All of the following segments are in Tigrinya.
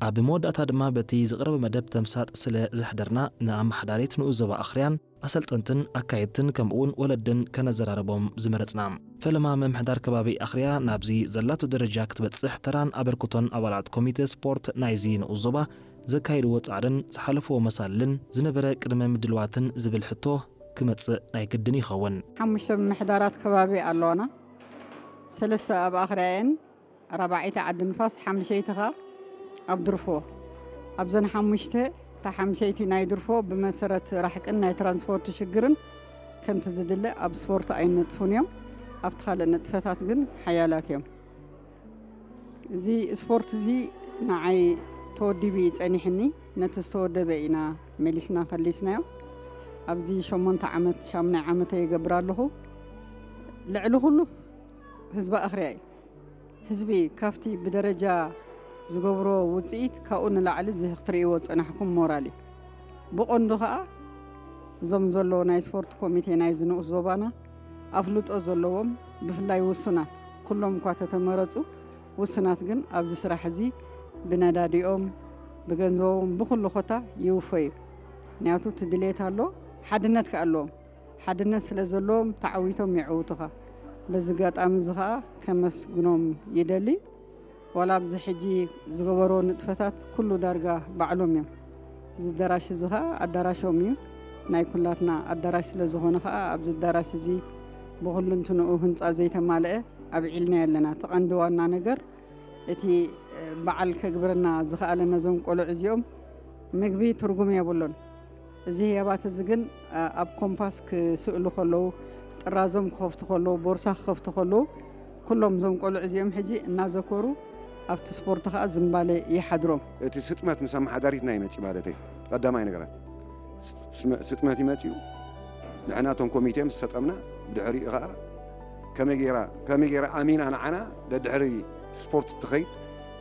ኣብ መወዳእታ ድማ በቲ ዝቕረበ መደብ ተምሳጥ ስለ ዘሕደርና ንኣመሓዳሪት ንኡስ ዞባ ኣኽርያን ኣሰልጠንትን ኣካየድትን ከምኡውን ወለድን ከነዘራርቦም ዝመረጽና። ፈለማ ምምሕዳር ከባቢ ኣኽርያ ናብዚ ዘላቶ ደረጃ ክትበጽሕ ተራን ኣበርክቶን ኣባላት ኮሚተ ስፖርት ናይዚ ንኡስ ዞባ ዘካየድዎ ጻዕርን ዝሓለፍዎ መሳልልን ዝነበረ ቅድመ ምድልዋትን ዝብል ሕቶ ክመጽእ ናይ ግድን ይኸውን። ሓሙሽተ ምምሕዳራት ከባቢ ኣለዋና። ሰለስተ ኣብ ኣኽርያ እየን፣ ራብዓይቲ ዓዲ ንፋስ፣ ሓምሸይቲ ኸኣ ኣብ ድርፎ። ኣብዘን ሓሙሽተ፣ እታ ሓምሸይቲ ናይ ድርፎ ብመሰረት ራሕቅን ናይ ትራንስፖርት ሽግርን ከምቲ ዝድለ ኣብ ስፖርት ኣይነጥፉን እዮም። ኣብቲ ካልእ ንጥፈታት ግን ሓያላት እዮም። እዚ ስፖርት እዚ ንዓይ ተወዲቡ እዩ ጸኒሕኒ። ነቲ ዝተወደበ ኢና መሊስና ከሊስናዮ። ኣብዚ ሸሞንተ ዓመት፣ ሻምናይ ዓመተ ይገብር ኣለኹ። ልዕሊ ኩሉ ህዝቢ ኣኽርያ እዩ። ህዝቢ ካብቲ ብደረጃ ዝገብሮ ውጽኢት ካብኡ ንላዕሊ እዚ ክትርእይዎ ዝጸናሕኩም ሞራል እዩ። ብቐንዱ ኸኣ እዞም ዘለዉ ናይ ስፖርት ኮሚቴ ናይዚ ንኡስ ዞባና ኣፍልጦ ዘለዎም ብፍላይ ውሱናት፣ ኩሎም እኳ ተተመረጹ ውሱናት ግን ኣብዚ ስራሕ እዚ ብነዳዲኦም ብገንዘቦም ብኹሉ ኾታ ይውፈዩ። ምክንያቱ እቲ ድሌት ኣሎ፣ ሓድነት ከኣ ኣለዎም። ሓድነት ስለ ዘለዎም ተዓዊቶም የዕውቱኻ። በዚ ኣጋጣሚ እዚ ኸኣ ከመስግኖም ይደሊ። ዋላ ኣብዚ ሕጂ ዝገበሮ ንጥፈታት ኩሉ ዳርጋ ባዕሎም እዮም። እዚ ኣዳራሽ እዚ ኸኣ ኣዳራሾም እዩ። ናይ ኩላትና ኣዳራሽ ስለ ዝኾነ ኸኣ ኣብዚ ኣዳራሽ እዚ ብኹልንትንኡ ህንጻ ዘይተማልአ ኣብዒልናዮ ኣለና። እቲ ቀንዲ ዋና ነገር እቲ በዓል ከግብረና ዝኸኣለ ነዞም ቆልዑ እዚኦም ምግቢ ትርጉም የብሉን። እዚ ህያባት እዚ ግን ኣብ ኮምፓስ ክስእሉ ከለዉ፣ ጥራዞም ክኸፍቱ ከለዉ፣ ቦርሳ ክኸፍቱ ከለዉ፣ ኩሎም እዞም ቆልዑ እዚኦም ሕጂ እናዘከሩ ኣብቲ ስፖርት ኸኣ ዝምባለ ይሓድሮም። እቲ ስጥመት ምስ ኣመሓዳሪትና ይመጽእ ማለተይ፣ ቀዳማይ ነገራት ስጥመ-፣ ስጥመት ይመጽኡ። ንሕና እቶም ኮሚቴ ምስ ሰጠምና፣ ብድሕሪኡ ኸኣ ከመይ ጌራ፣ ከመይ ጌራ ኣሚና ንዓና ደድሕሪ ስፖርት ትኸይድ፣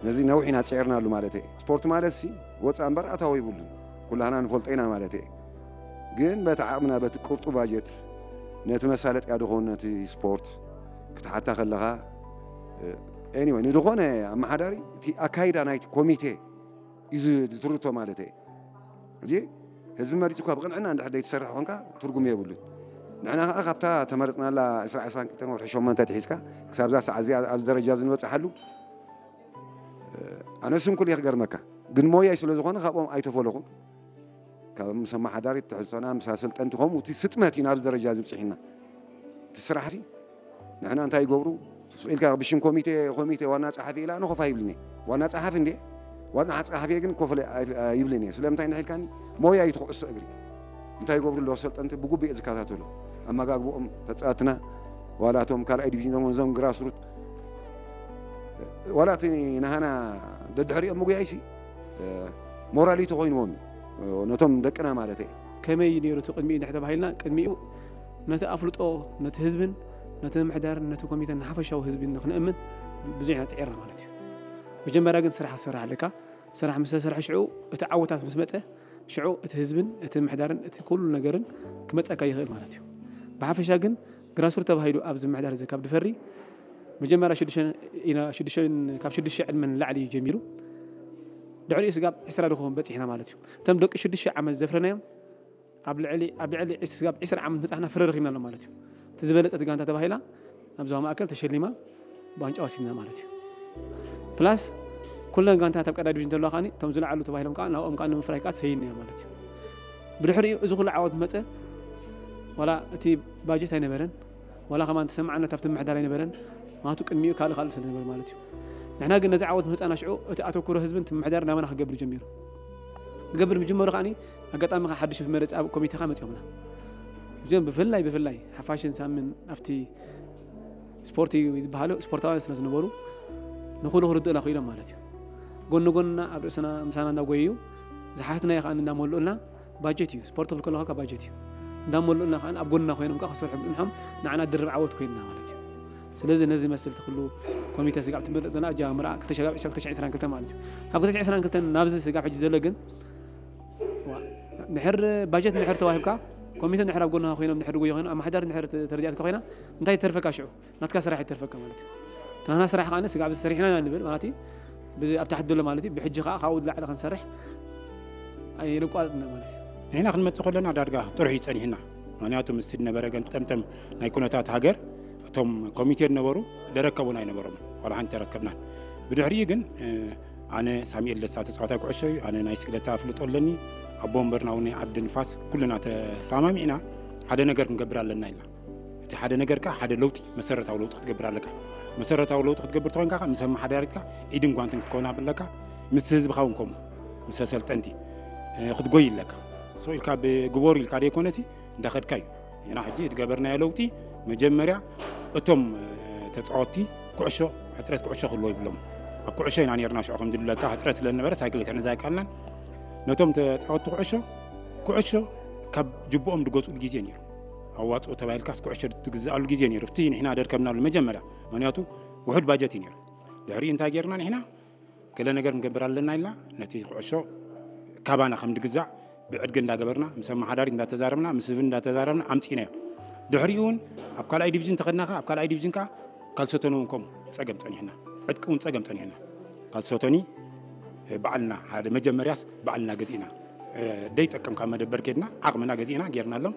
ነዚ ነዊሕ ኢና ጸዒርናሉ ማለተይ። ስፖርት ማለትሲ ወጻኢ እምበር ኣታዊ የብሉን። ኩላህና ንፈልጦ ኢና ማለት እየ። ግን በቲ ዓቕምና፣ በቲ ቅርጡ ባጀት፣ ነቲ መሳለጥያ ድኾን፣ ነቲ ስፖርት ክትሓታ ከለኻ፣ ኤኒወይ፣ ንድኾነ ኣመሓዳሪ እቲ ኣካይዳ ናይቲ ኮሚቴ እዩ ዝትርቶ ማለት እየ። እዚ ህዝቢ መሪጹ እኳ ብቕንዕና እንድሕር ዘይትሰርሕ ኮንካ ትርጉም የብሉን። ንሕና ኸዓ ካብታ ተመረጽናላ ዕስራ ዕስራን ክልተን ወርሒ ሸሞንተ ትሒዝካ ክሳብ እዛ ሰዓት እዚኣ ኣብዚ ደረጃ እዚ ንበጽሓሉ፣ ኣነ ስንኩል እየ ክገርመካ፣ ግን ሞያይ ስለ ዝኾነ ካብኦም ኣይተፈለኹን። ካብ ምስ ኣመሓዳሪ ትሕዝቶና፣ ምስ ኣሰልጠንቲ፣ ከምኡ እቲ ስጥመት እዩ ናብዚ ደረጃ እዚ ብጽሒና። እቲ ስራሕ ሲ ንሕና እንታይ ይገብሩ? ስቕ ኢልካ ብሽም ኮሚቴ፣ ኮሚቴ ዋና ጸሓፊ ኢላ ንኸፋ ይብልኒ። ዋና ጸሓፊ እንዴ? ዋና ጸሓፊ ግን ኮፈለ ኣይ-፣ ኣይብልን እየ። ስለምንታይ እንድሕ ኢልካኒ? ሞያ እዩ እቲ ኩዕሶ እግሪ። እንታይ ይገብሩ ኣለዉ ኣሰልጠንቲ? ብግቡእ እየ ዝከታተሎ። ኣመጋግብኦም፣ ተጻወትና፣ ዋላ እቶም ካልኣይ ዲቪዥን እዞም፣ እዞም ግራስሩት፣ ዋላ እቲ ናህና ደድሕሪኦም ምጉያይሲ፣ ሞራሊቲ ኮይንዎም እዩ። ነቶም ደቅና ማለት እየ። ከመይ እዩ ነይሩ እቲ ቅድሚኡ እንድሕር ተባሂልና፣ ቅድሚኡ ነቲ ኣፍልጦ፣ ነቲ ህዝብን፣ ነቲ ምምሕዳርን፣ ነቲ ኮሚተን፣ ንሓፈሻዊ ህዝቢ ንኽንእምን ብዙሕ ኢና ጽዒርና ማለት እዩ። መጀመርያ ግን ስራሕ ክትሰርሕ ኣለካ። ስራሕ ምስ ተሰርሐ ሽዑ እቲ ዓወታት ምስ መጸ፣ ሽዑ እቲ ህዝብን፣ እቲ ምምሕዳርን፣ እቲ ኩሉ ነገርን ክመጸካ ይኽእል ማለት እዩ። ብሓፈሻ ግን ግራስሩት ተባሂሉ ኣብዚ ምምሕዳር እዚ ካብ ድፈሪ፣ መጀመርያ ሽዱሽተ ኢና፣ ሽዱሽተ፣ ካብ ሽዱሽተ ዕድመ ንላዕሊ እዩ ጀሚሩ። ድሕሪኡ ስጋብ ዕስራ ድኸውን በጺሕና ማለት እዩ። እቶም ደቂ ሽዱሽተ ዓመት ዘፍረናዮም፣ ኣብ ልዕሊ፣ ኣብ ልዕሊ ዕስ-፣ ስጋብ ዕስራ ዓመት ምጻሕና ፍረ ረኺብናሎም ማለት እዩ። እቲ ዝበለጸት ጋንታ ተባሂላ ኣብ ዞባ ማእከል ተሸሊማ ብዋንጫ ወሲድና ማለት እዩ። ፕላስ ኩለን ጋንታት ኣብ ቀዳይ ዲቪዥን ዘለዋ ከዓኒ እቶም ዝለዓሉ ተባሂሎም ከኣ ናብኦም ከኣ ንምፍራይ ከኣ ተሰይድና ማለት እዩ። ብድሕሪኡ እዚ ኩሉ ዓወት መጸ፣ ዋላ እቲ ባጀት ኣይነበረን፣ ዋላ ከማን ተሰማዕነት ኣብቲ ምምሕዳር ኣይነበረን፣ ማቱ ቅድሚኡ ካልእ ካልእ ስለ ዝነበረ ማለት እዩ። ንሕና ግን ነዚ ዓወት ምምጻእና ሽዑ እቲ ኣተኩሮ ህዝብን እቲ ምምሕዳር ናባና ክገብር ጀሚሩ። ክገብር ምጅመሩ ከዓኒ ኣጋጣሚ ከኣ ሓድሽ መረጺ ኣብ ኮሚቴ ከኣ መጺኦምና። እዚኦም ብፍላይ ብፍላይ ሓፋሽን ሳምን ኣብቲ ስፖርት እዩ ዝበሃሉ ስፖርታውያን ስለ ዝነበሩ ንኹሉ ክርድኡና ክኢሎም ማለት እዩ። ጎኒ ጎንና ኣብ ርእስና ምሳና እንዳጎየዩ ዝሓትናዮ ከኣ እንዳመልኡልና ባጀት እዩ። ስፖርት ክብል ከለኻ ባጀት እዩ። እንዳመልኡልና ከኣ ኣብ ጎንና ኮይኖም ከኣ ክሰርሑ ምጽንሖም ንዓና ድርብ ዓወት ኮይንና ማለት እዩ። ስለዚ ነዚ መስል እቲ ኩሉ ኮሚተ ስጋብ ትምረጽ ዘና ኣጀማምራ ክልተ ሺሕ ዕስራን ክልተን ማለት እዩ። ካብ ክልተ ሺሕ ዕስራን ክልተን ናብዚ ስጋብ ሕጂ ዘሎ ግን ዋ፣ ድሕር ባጀት ድሕር ተዋሂብካ ኮሚተ ድሕር ኣብ ጎንኻ ኮይኖም ድሕር ድጎዩ ኮይኖም ኣመሓዳሪ ድሕር ተ-፣ ተረዲኣትካ ኮይና እንታይ ተርፈካ ሽዑ? ናትካ ስራሕ ይተርፈካ ማለት እዩ። እቲ ናትና ስራሕ ከኣ ስጋብ እዚ ሰሪሕና ኢና ንብል ማለት እዩ። ብዚ ኣብ ታሕቲ ዘሎ ማለት እዩ። ብሕጂ ከዓ ካብኡ ዝላዕለ ክንሰርሕ ኣይንቋፅን ማለት እዩ። ንሕና ክንመፅእ ከለና ዳርጋ ጥሩሕ እዩ ፀኒሕና። ምክንያቱ ምስ ዝነበረ ገንጠምጠም ናይ ኩነታት ሃገር እቶም ኮሚቴ ዝነበሩ ደረከቡን ኣይነበሮም፣ ዋላ ሓንቲ ተረከብናን። ብድሕሪኡ ግን ኣነ ሳሙኤል ደስታ ተፃዋታይ ኩዕሾ እዩ፣ ኣነ ናይ ስግለታ ኣፍልጦ ኣለኒ፣ ኣቦ ወንበርና እውን ናይ ዓዲ ንፋስ ኩልና ተሰማሚዕና ሓደ ነገር ክንገብር ኣለና ኢልና። እቲ ሓደ ነገር ከዓ ሓደ ለውጢ፣ መሰረታዊ ለውጢ ክትገብር ኣለካ። መሰረታዊ ለውጢ ክትገብር ተኮይንካ ከዓ ምስ ኣመሓዳሪትካ ኢድን ጓንትን ክትከውን ኣለካ። ምስ ህዝብካ እውን ከምኡ ምስ ኣሰልጠንቲ ክትጎይ ኣለካ። ሶ ኢልካ ብግበሩ ኢልካ ደይኮነሲ እንዳኸድካ እዩ። ንሕና ሕጂ ዝገበርናዮ ለውጢ መጀመርያ እቶም ተፃወትቲ ኩዕሾ ሕፅረት ኩዕሾ ክህልዎ ይብሎም። ኣብ ኩዕሾ ኢና ነርና ሽዑ ከም ዝብለካ ሕፅረት ስለ ዝነበረ ሳይክል ክሕነዛ ኣይከኣልናን። ነቶም ተፃወትቲ ኩዕሾ ኩዕሾ ካብ ጅብኦም ዝገዝኡሉ ግዜ ነይሩ። ኣዋፅኦ ተባሂልካስ ኩዕሾ ትግዝኣሉ ግዜ ነይሩ። እቲ ንሕና ደርከብናሉ መጀመርያ ምክንያቱ ውሑድ ባጀት እዩ ነይሩ። ድሕሪኡ እንታይ ጌርና ንሕና ገለ ነገር ክንገብር ኣለና ኢልና ነቲ ኩዕሾ ካባና ከም ዝግዛዕ ብዕድጊ እንዳገበርና ምስ ኣመሓዳሪት እንዳተዛረብና ምስ ህዝቢ እንዳተዛረብና ኣምፂእናዮ። ድሕሪኡ እውን ኣብ ካልኣይ ዲቪዥን ተኸድና ከ ኣብ ካልኣይ ዲቪዥን ከዓ ካልሶቶኒ እውን ከምኡ ፀገም ፀኒሕና፣ ዕጥቂ እውን ፀገም ፀኒሕና። ካልሶቶኒ ባዕልና ሓደ መጀመርያስ ባዕልና ገዚእና ደይጠቅም ካብ መደበር ኬድና ዓቕምና ገዚእና ጌርናሎም።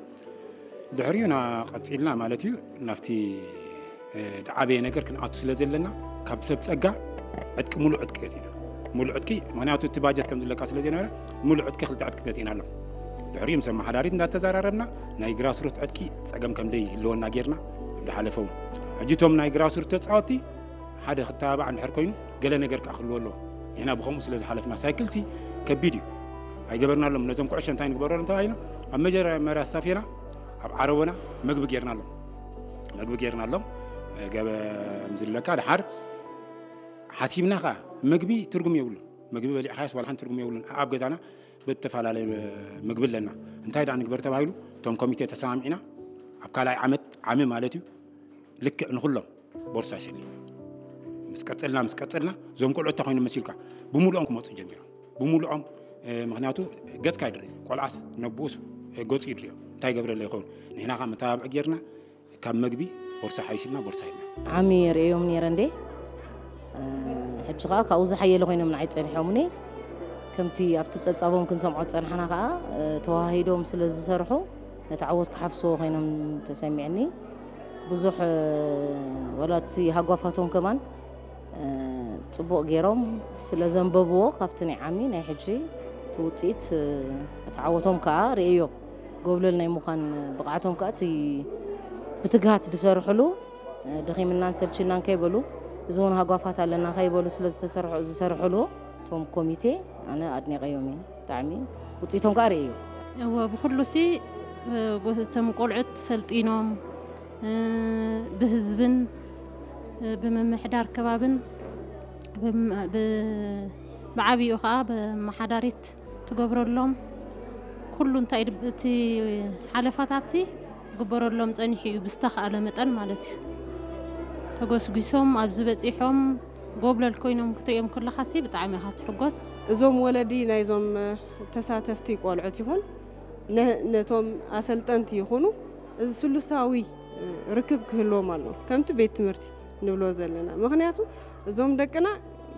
ድሕሪኡ ኢና ቀፂልና ማለት እዩ ናብቲ ዝዓበየ ነገር ክንኣቱ ስለ ዘለና ካብ ሰብ ፀጋ ዕጥቂ ሙሉእ ዕጥቂ ገዚእና። ሙሉእ ዕጥቂ ምክንያቱ እቲ ባጀት ከም ዝለካ ስለ ዘይነበረ ሙሉእ ዕጥቂ ክልተ ዕጥቂ ገዚእና ኣሎ። ድሕሪኡ ምስ ኣመሓዳሪት እንዳተዘራረብና ናይ ግራስሩት ዕጥቂ ፀገም ከም ደይህልወና ጌርና ኣብ ዝሓለፈ እውን ሕጂ እቶም ናይ ግራስሩት ተፃወቲ ሓደ ክተባባዕ እንድሕር ኮይኑ ገለ ነገር ከዓ ክህልዎ ኣለዎ። ንሕና ብከምኡ ስለ ዝሓለፍና ሳይክል ሲ ከቢድ እዩ ኣይገበርናሎም። ነዞም ኩዕሾ እንታይ ንግበረሎም ተባሂሎም ኣብ መጀመርያ ስታፌና ኣብ ዓረቦና መግቢ ጌርናሎም መግቢ ጌርናሎም ገበ ዝብለካ ድሓር ሓሲብና ከዓ ምግቢ ትርጉም የብሉ። ምግቢ በሊዕካዮስ ዋላ ሓንቲ ትርጉም የብሉን። ኣብ ገዛና ብተፈላለየ ምግቢ ኣለና። እንታይ ደኣ ንግበር ተባሂሉ እቶም ኮሚቴ ተሰማሚዕና ኣብ ካልኣይ ዓመት ዓሚ ማለት እዩ ልክዕ ንኩሎም ቦርሳ ሸሊና ምስ ቀፀልና ምስ ቀፀልና እዞም ቆልዑ እንታይ ኮይኖም መሲልካ ብምሉኦም ክመፁ ጀሚሮም። ብምሉኦም ምክንያቱ ገፅካ ይድሪ ቆልዓስ ነብኡስ ገፁ ይድሪዮ እንታይ ገብረለ ይኸውን። ንሕና ከዓ መተባብዒ ጌርና ካብ መግቢ ቦርሳ ሓይስልና ቦርሳ ሂብና። ዓሚ ርእዮም ነይረ እንዴ ሕጂ ከዓ ካብኡ ዝሓየለ ኮይኖም ንዓይ ፀኒሖምኒ። ከምቲ ኣብቲ ፀብፃቦም ክንሰምዖ ዝፀናሕና ከዓ ተዋሂዶም ስለ ዝሰርሑ ነቲ ዓወት ክሓፍስዎ ኮይኖም ተሰሚዕኒ። ብዙሕ ወላ እቲ ሃጓፋቶም ከማን ፅቡቕ ገይሮም ስለ ዘንበብዎ ካብቲ ናይ ዓሚ ናይ ሕጂ እቲ ውፅኢት እቲ ዓወቶም ከዓ ርእዮ። ጎብለል ናይ ምዃን ብቕዓቶም ከዓ እቲ ብትግሃት ዝሰርሕሉ ደኺምናን ሰልችናን ከይበሉ እዚ እውን ሃጓፋት ኣለና ከይበሉ ስለ ዝተሰርሑ ዝሰርሕሉ እቶም ኮሚቴ ኣነ ኣድኒቐዮም እየ ብጣዕሚ ውፅኢቶም ከዓ ርእዮ። እወ ብኩሉ ሲ እቶም ቆልዑት ሰልጢኖም ብህዝብን ብምምሕዳር ከባብን ብዓብይኡ ከዓ ብመሓዳሪት ትገብረሎም ኩሉ እንታይ እቲ ሓለፋታት ግበረሎም ፀኒሑ እዩ ብዝተኻእለ መጠን ማለት እዩ። ተጎስጒሶም ኣብዚ በፂሖም ጎብለል ኮይኖም ክትሪኦም ከለኻሲ ብጣዕሚ ኢኻ ትሕጎስ። እዞም ወለዲ ናይዞም ተሳተፍቲ ቆልዑት ይኹን ነቶም ኣሰልጠንቲ ይኹኑ እዚ ስሉሳዊ ርክብ ክህልዎም ኣለዎ ከምቲ ቤት ትምህርቲ ንብሎ ዘለና። ምኽንያቱ እዞም ደቅና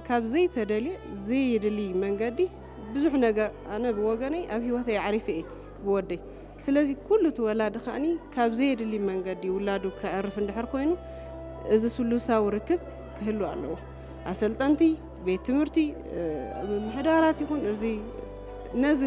ካብ ዘይተደልየ ዘየድሊ መንገዲ ብዙሕ ነገር ኣነ ብወገነይ ኣብ ሂወተይ ኣዕሪፈ እየ ብወደይ። ስለዚ ኩሉ እቲ ወላዲ ከኣኒ ካብ ዘየድሊ መንገዲ ውላዱ ከዕርፍ እንድሕር ኮይኑ እዚ ስሉሳዊ ርክብ ክህሉ ኣለዎ። ኣሰልጠንቲ፣ ቤት ትምህርቲ፣ ምምሕዳራት ይኹን እዚ ነዚ